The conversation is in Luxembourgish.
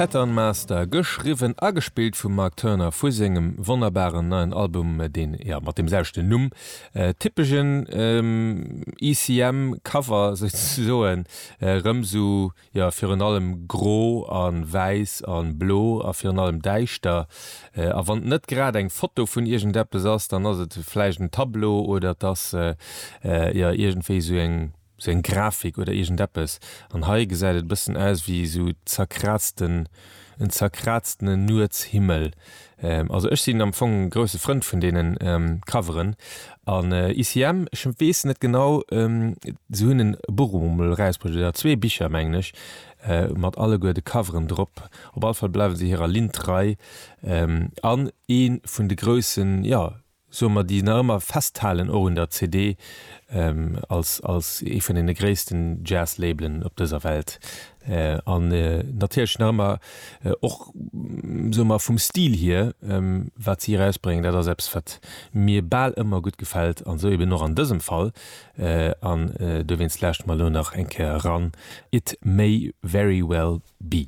Pattern Master, geschriwwen a gespillt vum Mark Turner vu sengem wonnerbaren neien Album, deen, jo, mat deem selwechten Numm, typeschen ECM Cover souzesoen, erëm sou, jo, virun allem gro a wäiss a blo a virun allem däischter. A wann et net grad eng Foto vun iergendeppes ass, dann ass et vläicht en Tableau oder et ass, jo, iergendwéi sou eng. Sou eng Grafik oder iergendeppes. An hei gesäit et e bëssen aus wéi sou zerkraazten, en zerkraaztenen Nuetshimmel. Also ech sinn am Fong e grousse Frënd vun deenen Coveren. An ICM, ech weess net genau, se hunn en Buch emol erausbruecht oder zwee Bicher mengen ech, mat alleguer de Coveren drop. Op alle Fall bleiwe se hirer Linn trei. An ee vun de groussen, jo, soe mer, déi nach ëmmer festhalen, och un der CD, als, als ee vun deene gréissten Jazz-Labelen op dëser Welt. An natierlech nach ëmmer och, soe mer, vum Stil hier, wat si erausbréngen, dat ass eppes, wat mir bal ëmmer gutt gefält, an esou eben och an dësem Fall. An dowéinst lauschte mer elo nach eng Kéier eran, It May Very Well Be.